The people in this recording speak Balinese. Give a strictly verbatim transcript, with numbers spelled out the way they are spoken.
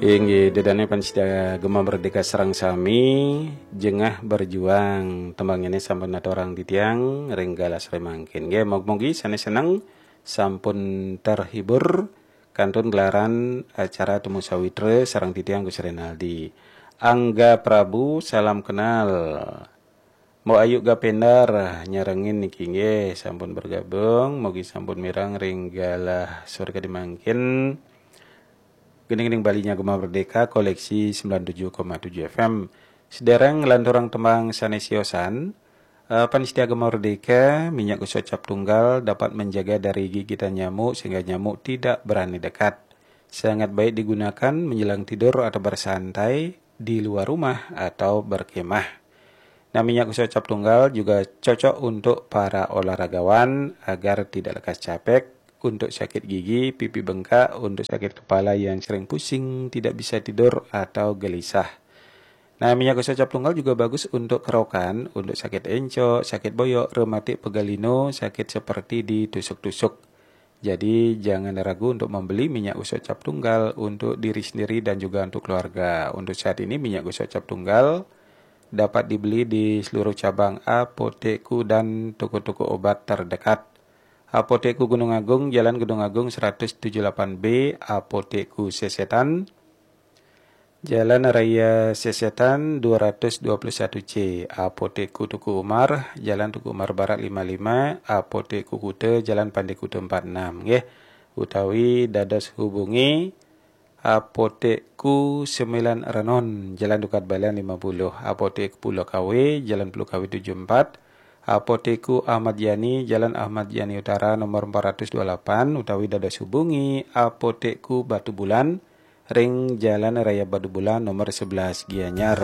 Inggih, dedane pamiarsa Gema Merdeka sareng sami, jengah berjuang, tembang ini sampun aturang titiang ring galah sore mangkin. Nggih, mugi-mugi sane seneng, sampun terhibur, kantun gelaran acara Temu Sawitra sareng titiang Gus Renaldi. Angga Prabu, salam kenal. Mbok Ayu Gapendar nyarengin niki nggih, sampun bergabung, mugi sampun mireng ring galah sore kadi mangkin. Gini-gini Bali nya Gema Merdeka, koleksi sembilan tujuh koma tujuh F M. Sedereng nglanturang tembang sane siosan, eh, pamiarsa Gema Merdeka, minyak gosok cap tunggal dapat menjaga dari gigitan nyamuk sehingga nyamuk tidak berani dekat. Sangat baik digunakan menjelang tidur atau bersantai di luar rumah atau berkemah. Nah, minyak gosok cap tunggal juga cocok untuk para olahragawan agar tidak lekas capek, untuk sakit gigi, pipi bengkak, untuk sakit kepala yang sering pusing, tidak bisa tidur, atau gelisah. Nah, minyak gosok cap tunggal juga bagus untuk kerokan, untuk sakit encok, sakit boyok, rematik, pegal linu, sakit seperti ditusuk-tusuk. Jadi, jangan ragu untuk membeli minyak gosok cap tunggal untuk diri sendiri dan juga untuk keluarga. Untuk saat ini, minyak gosok cap tunggal dapat dibeli di seluruh cabang Apotekku dan toko-toko obat terdekat. Apotekku Gunung Agung, Jalan Gunung Agung seratus tujuh delapan B, Apotekku Sesetan, Jalan Raya Sesetan dua ratus dua puluh satu C, Apotekku Teuku Umar, Jalan Teuku Umar Barat lima lima, Apotekku Kuta, Jalan Pandai Kuta empat enam, nggih. Utawi dados hubungi Apotekku Sembilan Renon, Jalan Dukat Balian lima puluh, Apotek Pulau Kawe, Jalan Pulau Kawe tujuh empat, Apotekku Ahmad Yani, Jalan Ahmad Yani Utara nomor empat ratus dua puluh delapan, utawi dados hubungi Apotekku Batubulan ring Jalan Raya Batubulan nomor sebelas Gianyar.